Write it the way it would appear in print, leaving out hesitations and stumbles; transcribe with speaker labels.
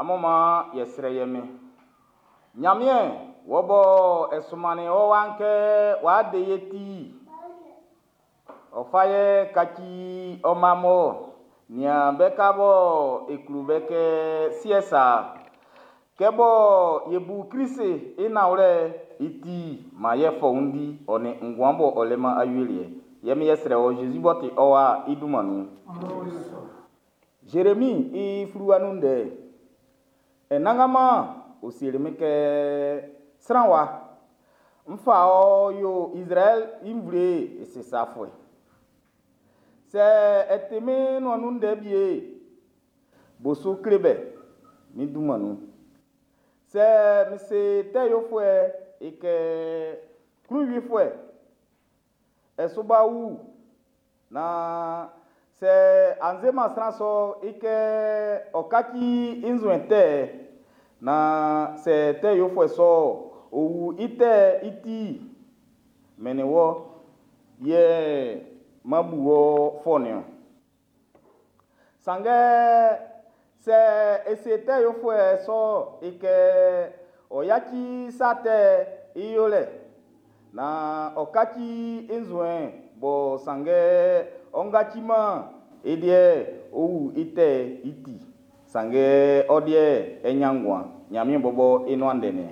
Speaker 1: Amun man yɛ srɛ ye Min. Nyanmiɛn, wɔ bɔ e sunmannin ɔ Wa'n kɛ ɔ'a de ye ti, ɔ fa ye kaci ɔ mma b'ɔ nian be ka bɔ e klo be kɛ siɛ sa'n. Kɛ bɔ ye bu Krist i nanwlɛ'n, i ti man ye fɔundi ɔ nin nguan b'ɔ lɛ-man awieliɛ'n. Yɛ min yɛ srɛ wɔ Jésus b'ɔ ti ɔ Wa'n i dunman nun. Zeremi i fluwa nun ndɛ'n. Anannganman ɔ seli min kɛ, Sran wa, n ʼfa wɔ yo Izraɛl i nvle'n i sisafuɛ. Sɛ ɛ ti mín nuan nun ndɛ wie'n, bo su kle be min dunman nun. Sɛ n se tɛ yofuɛ'n i kɛ, Klunwifuɛ, ɛ su ba wu, nan sɛ a se-man sran sɔ'n i kɛ ɔ kaci i nzuɛn tɛ'n, nan sɛ tɛ yofuɛ sɔ'n ɔ wu i tɛ'n i ti'n, min nin wɔ yɛ m'an bu wɔ fɔ nin-ɔn. Sanngɛ sɛ e se tɛ yofuɛ sɔ'n i kɛ ɔ yaci sa tɛ'n i yolɛ nan ɔ kaci i nzuɛn'n bɔ sanngɛ ɔ kaci-man'n, i liɛ'n, ɔ ʼwu i tɛ'n i ti, sanngɛ ɔ liɛ'n, ɛ ʼnyan nguan. Nyanmiɛn bɔbɔ i nuan ndɛ nin.